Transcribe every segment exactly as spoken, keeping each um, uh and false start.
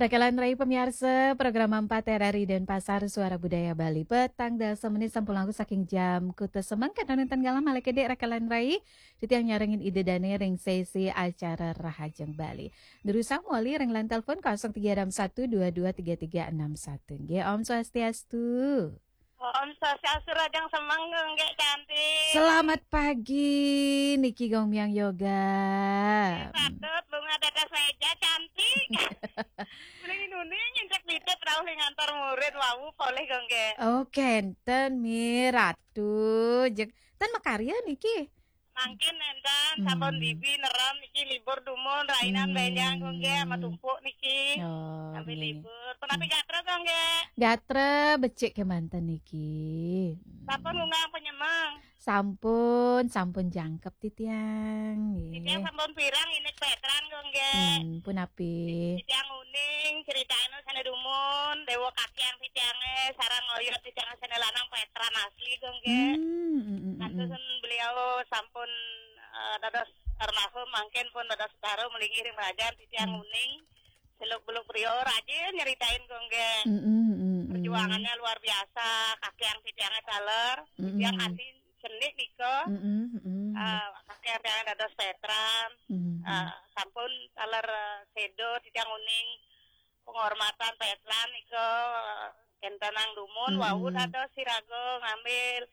Rakalan rai pamiarsa, program empat R R I Denpasar, Suara Budaya Bali. Petang dasa menit sampun langkung saking jam kutus semengket. Nonton galam malih kedek rakalan rai. Titiang nyarengin Ida Dane ring sesi acara Rahajeng Bali. Durusang malih ring line telepon kosong tiga enam satu dua dua tiga tiga enam satu. Nggih, Om Swastiastu. Om Swastiastu, Rajang Semeng, Gung Gek cantik. Selamat pagi, niki Gung Miang Yoga. Patut, bunga dadas meja cantik. Beli nuni nyincak nitip rauh ring antar murid wau polih, Gung Gek. Oh, kenten, mi Ratu. Jeg, ten makarya niki? Mangkin enten, sampun Hmm. bibi nerem niki libur dumun, rainan Hmm. benjang, Gung Gek, ama tumpuk niki. Oh, Sambil nggih. libur. Punapi Hmm. gatra, Gung Gek? Gatra becik kemanten niki. Sampun ngunggah penyemeng? Sampun, sampun jangkep titiang, nggih. Titiang sampun pirang indik petran, Gung Gek? Hmm, punapi? Titiang uning, critaina sane dumun, dewa kakiang titiange, sareng oyot titiange sane lanang petran asli, Gung Gek. Hmm, hmm, hmm, hmm, hmm. Kantos beliau sampun, eh, dados almarhum, mangkin pun dados setara melinggih ring merajan, titiang Hmm. uning. Seluk-beluk beliau rajin nyeritain, Gung Gek. Hmm, hmm, hmm, hmm. Perjuangannya luar biasa, kakiang titiange taler, Hmm, titiang hmm. asli cenik nika. Hmm, hmm, hmm, hmm. Eh, kakiang titiange dados petran. Hmm, hmm. Eh, sampun taler, eh, seda titiang uning penghormatan petran nika, eh, kentenang dumun, Hmm, wau hmm. dados siraga ngambil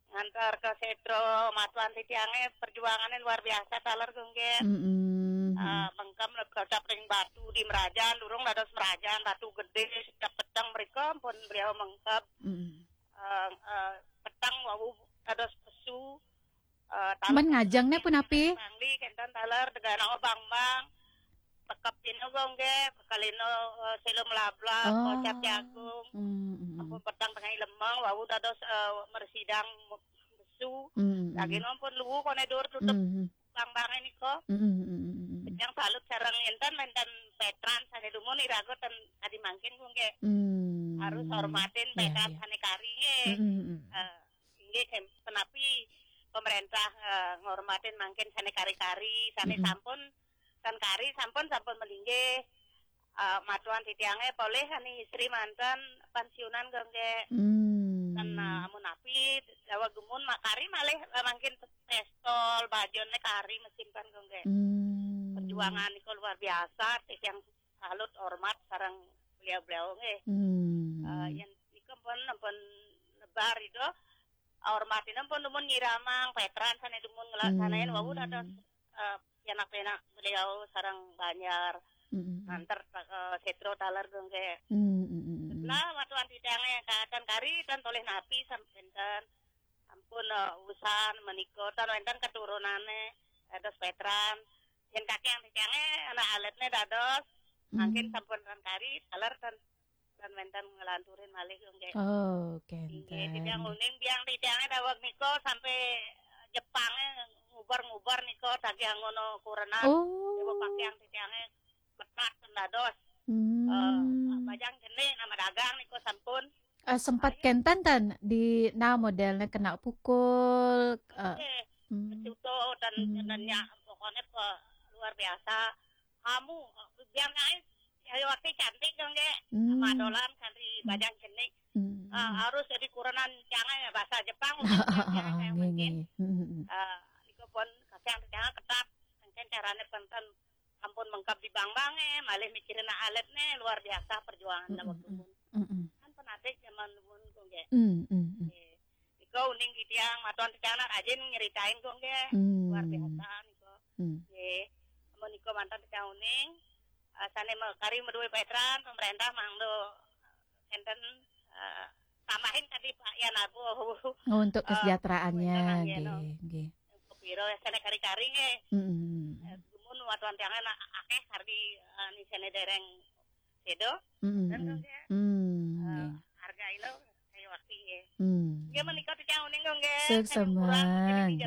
ngantar ke setra matuan titiange, perjuangannya luar biasa taler, Gung Gek. Hmm, hmm, hmm. Eh, mengkeb kocap ring batu di merajan, durung dados merajan, batu gede, setiap peteng mrika pun beliau mengkeb. Hmm. Eh, eh, peteng wau dados pesu. Eh, taler Men ngajeng ne punapi? Bangli kenten taler degana bang-bang. Tekepina, Gung Gek, bekelina, eh, selo melablak, Oh. kocap jagung. Hmm, hmm, hmm. Ampun peteng tengah lemeng, wau dados, eh, mersidang besu. Hmm, hmm. Daging ampun luwu kone dur tutup Hmm, hmm. bang-bange nika. Hmm, hmm, hmm, hmm, hmm. Yang salut sareng enten, enten petran sane dumun iraga ten adi mangkin, Gung Gek. Hmm. Harus hormatin Ya, petran ya. sane kari, nggih. Hmm, hmm, hmm. Eh, inggih, sem-, punapi pemerintah, eh, ngormatin mangkin sane kari-kari, sane Hmm, hmm. sampun, tan kari sampun, sampun melinggih, eh, matuan titiange polih ani istri manten pensiunan, Gung Gek. Hmm. Tan, eh, amun api, daweg dumun ma-, kari malih, eh, mangkin pestol, bajone kari masimpen, Gung Gek. Hmm. Perjuangan niku luar biasa, titiang salut hormat sareng beliau-beliau nggih. Hmm. Eh, yen niku pun, pun nebar itu, hormatin pun dumun nyiramang, petran sane dumun ngelaksanain, Hmm. wau dados, eh, penak-penak beliau sareng Banjar. Hmm. Nganter, eh, setra taler, Gung Gek. Hmm, hmm, hmm, hmm. Sebelah matuan titiange kaatan kari tan tolih napi sampenten. Ampun, eh, usan menika tan wenten keturunane, eh, dados petran. Yen kakiang titiange anak aletne dados, mangkin Hmm. sampun tan kari, taler tan, tan wenten ngelanturin malih, Gung Gek. Oh, Inggih, kenten. Titiang uning biang titiange daweg nika sampai Jepange ngubar-ngubar nika daging ngono kurenan. Oh. Dewa kakiang titiange ketat tan dados. Hmm. Eh, bajang jenik nama dagang nika sampun. Eh, sempat Ayo. kenten tan di nah modelnya kena pukul, eh, Nggih, hmm. Pecuto dan, Hmm. dan ya, pokoknya pe-, luar biasa. Kamu, biar naik, ya, waktu cantik dong, Gek. Hmm. Sama dolan, santri Hmm. bajang jenik. Hmm. Ah, harus jadi kurenan jangan ya, bahasa Jepang, mungkin, ya, ya, Nggih, mungkin. nggih. Hmm, hmm, hmm. Ah, niku pun kakiang jangan ketat. Mungkin caranya penten ampun mengkap di bang-bange, malih mikirin aletne, luar biasa perjuangan Hmm, waktu hmm, pun. hmm, hmm. Kan penatik zaman pun, kok, Gek. Hmm, hmm, hmm. Nggih. Niku uning titiang, matuan titiang nak rajin nyeritain, kok, Gek. Hmm. Luar biasa, niku. Hmm. Nggih. Amun niku mantan titiang uning, eh, sane me-, kari maduwe petran, pemerintah mangdo enten, eh, tambahin tadi Pak Yan Abu. Oh, untuk Eh, kesejahteraannya, enten nggih, nggih. Kepiro ya, sane kari-kari, nggih. Hmm. Eh, dumun matuan tiange nak akeh kari, eh, ni sane dereng sedo. Hmm, Dan, hmm. Nggih. Hmm, Eh, nggih. Harga ilo, saya waktu, nggih. Hmm. Nggih, menika titiang uning, nggih. Sukses, Sane kurang, Mang. Mungkin ini